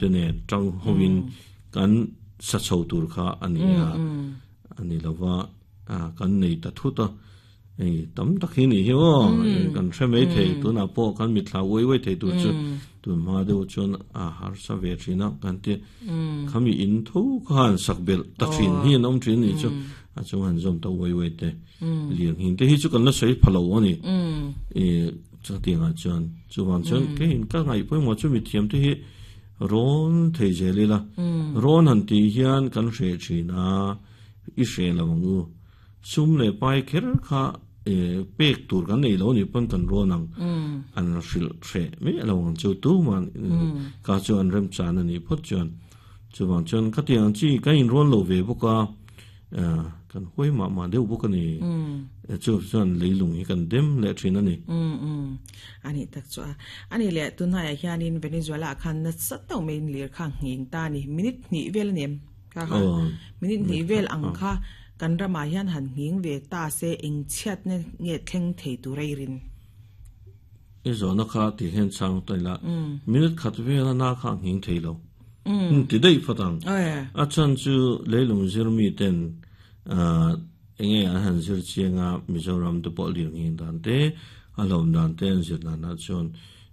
Te nen tang hovin kan sa chho tur kha a ni a, a ni lo va, kan nei ta thut a, hei tam tak hi nih hi aw, kan hre mai thei, tunah pawh kan mitthla uai uai thei tur chu tun hma deuh chuan a harsa ve thin a, kan ti khami in tho khan sak belh ta thin hi an awm thin a nih chu, a chung han zawm ta uai uai te, lirnghing te hi chu kan la sawi pha lo a ni, Chutiangah chuan chuvang chuan keiin ka ngaih pawimawh chu mithiam te hi rawn thei zel ila, rawn han tih hian kan hreh thin a, i hreh lo ang u. Sum leh pai kher kha pek tur kan nei lo nih pawn kan rawn ang, an hrilh hreh miah lo ang chu tuman ka chu an remchan a nih phawt chuan. Chuvang chuan khatiang chi kan inrawn lo ve bawk a. Kan huai mah mah deuh bawk a ni. Chu chuan leilung hi kan dem leh thin a ni. A nih tak chu a. A nih leh tunhaiah hianin Venezuela ah khan nasa tauh maiin lir kha nghing ta a ni. Minute hnih vel a ni em? Kha kha minute hnih vel ang kha kan ramah hian han nghing ve ta se engchhiatna nge thleng thei tur a i rin? I zawhna kha tih hian chhang ta ila, minute khat vela na kha a nghing thei lo. Ti daih phawt ang. A chhan chu leilung zir mi ten enge an han zir chiang a, Mizoram te pawh lirnghing dan te, a hlawm dan te an zir danah chuan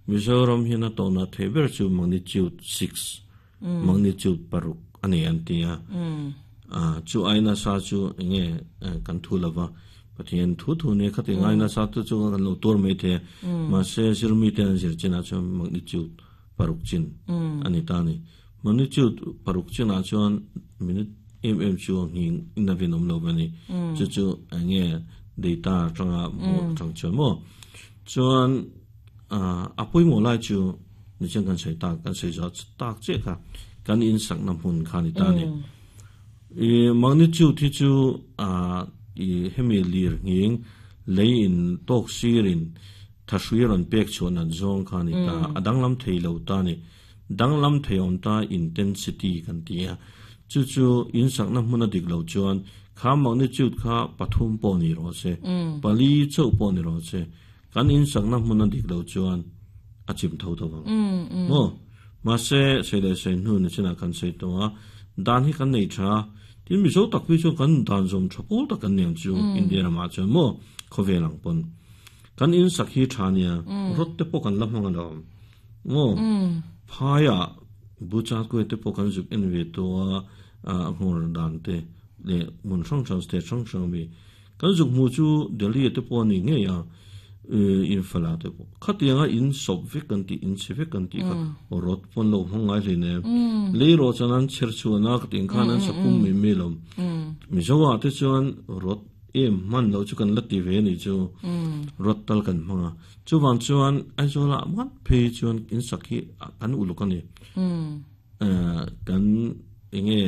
Mizoram hian a tawhna theih ber chu magnitude six, magnitude paruk a nei an ti a. Chu ai nasa chu enge kan thu lova, Pathian thu thu nia khati ngai nasa te chu kan lo tuar mai thei a, mahse zir mi te an zir chinah chuan magnitude paruk chin a ni ta a ni. Magnitude paruk chinah chuan minute em em chu a nghing in a rinawm lo a ni. Chu chu eng nge data atanga hmuh atang chuan maw. Chuan a pawimawh lai chu nichen kan sawi tak kan sawi zawh tak chiah kha kan insakna hmun kha a ni ta a ni. I magnitude hi chu i hemi lir nghing lei in tawk sirin Thahrui a rawn pek chhuah nat zawng kha a ni ta, a danglam thei lo ta a ni. Danglam thei awm ta intensity kan ti a, chu chu insakna hmun a dik lo chuan kha magnitude kha pathum pawh ni rawh se, pali chauh pawh ni rawh se, kan insakna hmun a dik lo chuan a chim tho tho vang. Maw? Mahse, sei leh sei hnu ni chinah kan sawi tawh a, dan hi kan nei tha a, tin Mizo tak phei chuan kan dan zawm tha pawl tak kan ni ang chu India ramah chuan maw khawvel ang pawn. Kan in sak hi tha nia, rod te pawh kan la hmang alawm. Maw? Phaiah Bucha kuai te pawh kan zuk en ve tawh a, a hmawr dan te leh hmun hrang hrang state hrang hrang ami. Kan zuk hmuh chu Delhi te pawh a ni ngei a, Imphal-ah te pawh. Khatianga in sawp vek kan tih, in chhe vek kan tih kha rod pawh an lo hmang ngai hle nen. Lei rawh chuan an chher chhuan a, khatiang khan an sapum mai mai alawm. Mizoah te chuan rod Em hman loh chu kan la ti ve anih chu rod tal kan hmang a, chuvang chuan Aizawlah mat phei chuan in sak hi kan uluk a ni. Kan enge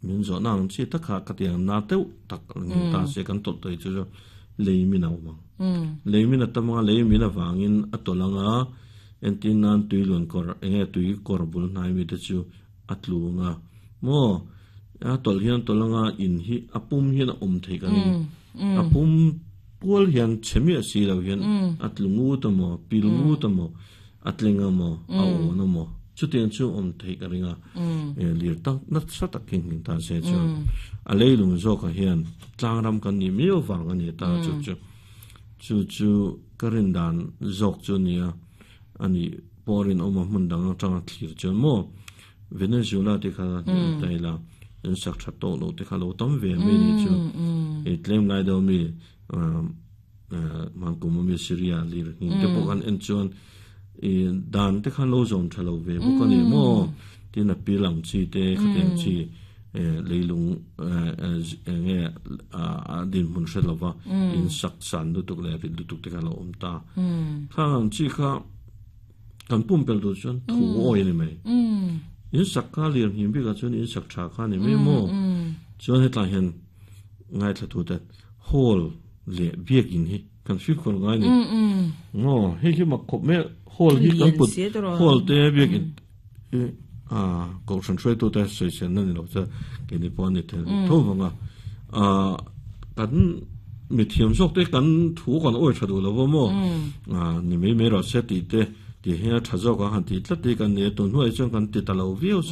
min zawhna ang chi tak kha ka ti ang na deuh tak ni ta se kan tawlh tawih chu chu lei min a awm ang. Lei min a tam ang a, lei min avangin a tawlh ang a, entir nan tui luan kawr enge tui kawr bul hnai mi te chu a tlu ang a maw a tawlh hian tawlh anga in hi a pum hian a awm thei ka ring a pum pual hian chhe miah si lo hian a tlu ngut a maw pil ngut a maw a tleng a maw a awn a maw chutiang chu awm theih ka ring a lir tak nasa tak hi hmin ta se chuan a leilung zawkah hian tlangram kan nih miau vang a ni ta chu chu chu chu ka rin dan zawk chu a nia a nih pawh rinawm a hmun dang atanga thlir chuan maw Venezuela te kha ta ila in sak tha tawh lo te kha lo tam ve mai ni chu e tlem lai deuh mi man kum ami Syria lir hnin te pawh kan en chuan i dan te khan lo zawm tha lo ve bawk a ni maw tin a pil ang chi te khatiang chi leilung enge a dinhmun hre lova in sak san lutuk leh rit lutuk te kha lo awm ta khang ang chi kha Kan pumpelh duh chuan thu awi a ni mai. In sak kha lian hlim bikah chuan in sak tha kha a ni mai maw? Chuan hetlai hian ngaithla tu te hall leh biakin hi kan fimkhur ngai a ni. Maw hei hi mak khawp mai a, hall hi kan put hall te biakin hi kohhran hruaitu te sawiselna ni lo chuan keini pawh a ni thei tho vang a. Kan mithiam zawk te kan thu kan awi tha duh lo va maw? Ni mai mai rawh se tih te. Ti hian a tha zawk ang han tih tlat hi kan ni a, tun hnuaiah chuan kan ti ta lo viau zawk.